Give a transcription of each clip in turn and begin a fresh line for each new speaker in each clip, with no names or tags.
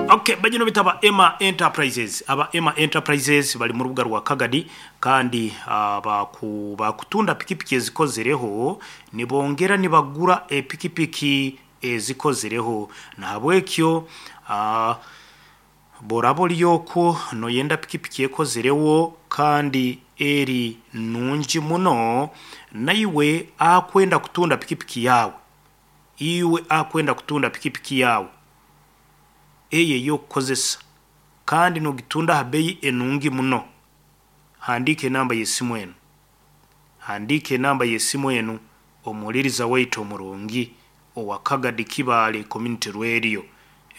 Okay, bagino bitaba Emma Enterprises. Aba Emma Enterprises bali mu rubuga rwa Kagadi kandi bakutunda pikipiki ezikozereho, nibongera nibagura epikipiki ezikozereho. Nahabwekyo boraba ori okwo noyenda pikipiki ekozereho kandi eri nungi muno, naiwe akwenda kutunda pikipiki yawe, iwe akwenda kutunda pikipiki yawe eyo ey'okukozesa kandi nogitunda ha beeyi enungi muno, handiika enamba y'esimu enu, handiika enamba y'esimu enu omuhuliriza waitu omurungi owa Kagadi Kibaale Community Radio,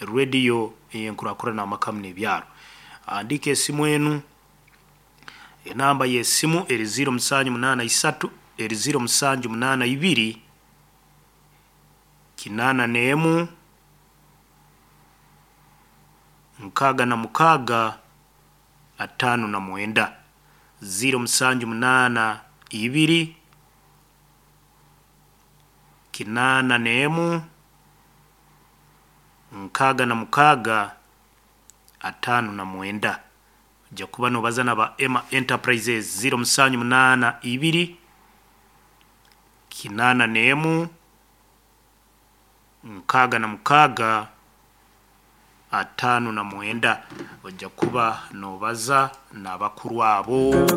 radio ey'enkurakurana amaka n'ebyaro. Handiika esimu enu, enamba y'esimu eri 0783, eri 0782 81 66 59, 0782 81 66 59. Ojja kuba nobaza naba Emma Enterprises 0782 81 66 59, ojja kuba nobaza n'abakuru abo.